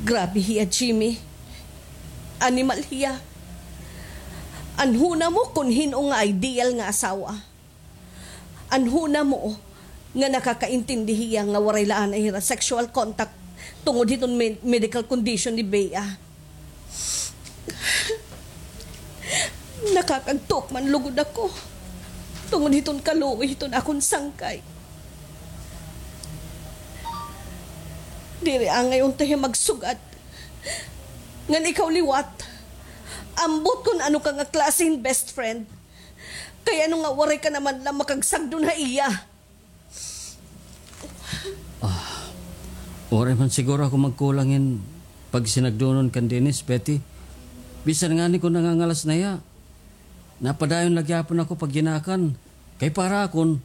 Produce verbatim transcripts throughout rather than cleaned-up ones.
Grabe hiya, Jimmy. Animal hiya. Anhona mo kon hin-o nga ideal nga asawa. Anhona mo nga nakakaintindi hiya nga waray la anay hira sexual contact tungod hiton med-, medical condition ni Bea. Nakakagtukman lugod ako tungod hiton kaluoy hiton akon sangkay. Diri angay unta hiya magsugad ngan ikaw liwat. Ambot kon ano ka nga klase hin best friend. Kay ano nga waray ka naman la makagsagdon ha iya? Ah, waray man siguro ako magkulang hin pagsinagdonon kan Dennis, Betty. Bisan ngani kon nangangalas na hiya, napadayon la gihapon ako pagginakan. Kay para akon,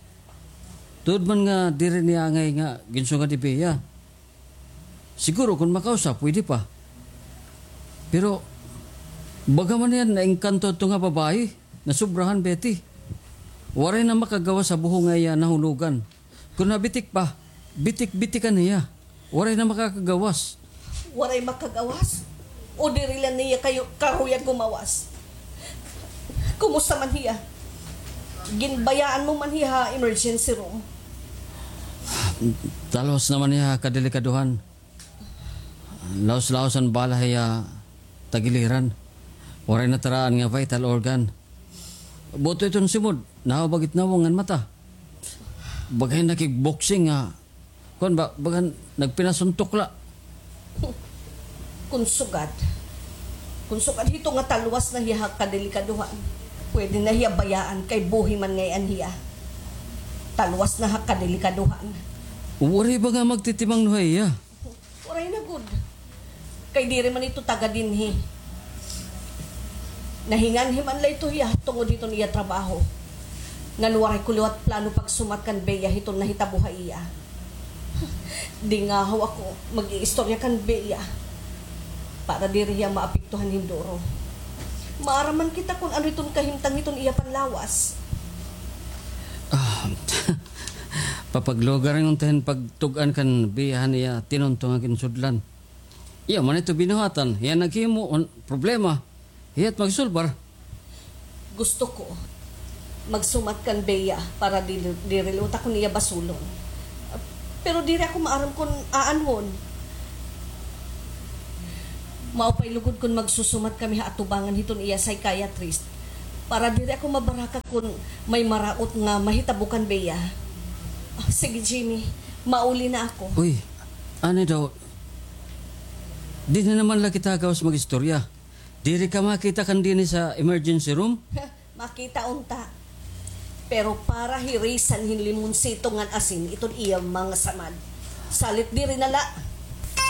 tuod man nga diri niya angay nga ginsugad ni Bea. Siguro kon makausa, pwede pa. Pero, baga man hiya naengkanto adto nga babaye, nasobrahan, Betty. Waray na makagawas sa buho nga iya nahulogan. Kon nabitik pa, bitik-bitikan niya. Waray na makakagawas. Waray makagawas? O diri la niya kayo karuyag gumawas? Kumusta man hiya? Ginbayaan mo man hiya ha emergency room? Talwas naman hiya ha kadelikaduhan. Laos-laos an bala hiya tagiliran. Waray nataraan nga vital organ. Buto iton simod, nahawbag it nawong ngan mata. Baga hin nakigboxing nga, kuan ba, baga hin nagpinasuntok la. Kon sugad. Kon sugad hito nga talwas na hiya ha kadelikaduhan. Pwede na hiya bayaan kay buhi man ngay-an hiya. Talwas na ha kadelikaduhan. Waray ba nga magtitimangno ha iya? Waray na gud. Kay diri man ito taga dinhi. Nahinganhi man la ito hiya tungod hiton iya trabaho. Ngan waray ko liwat plano pagsumat kan Bea hiton nahitabo ha iya. Dingahaw ako mag-iistorya kan Bea para diri hiya maapektuhan hin duro. Maaram man kita kon ano iton kahimtang hiton iya panlawas. Ah, papaglugaran unta hin pagtug-an kan Bea han iya tinunto nga ginsudlan. Iya man ito binuhatan, hiya naghimo, un-, problema. Hiya it magsulbar. Gusto ko magsumat kan Bea para diri, diri liwat ako niya basulon. Pero diri ako maaram kon aanhon. Maupay lugod kon magsusumat kami ha atubangan hiton iya psychiatrist para diri ako mabaraka kon may maraot nga mahitabo kan Bea. Ah, sige, Jimmy, mauli na ako. Uy, ani daw, dinhi naman la kita gawas mag-istorya. Diri ka makita kan dinhi sa emergency room? Makita unta. Pero para hirisan hin limonsito ngan asin iton iya mga samad. Salit diri na la.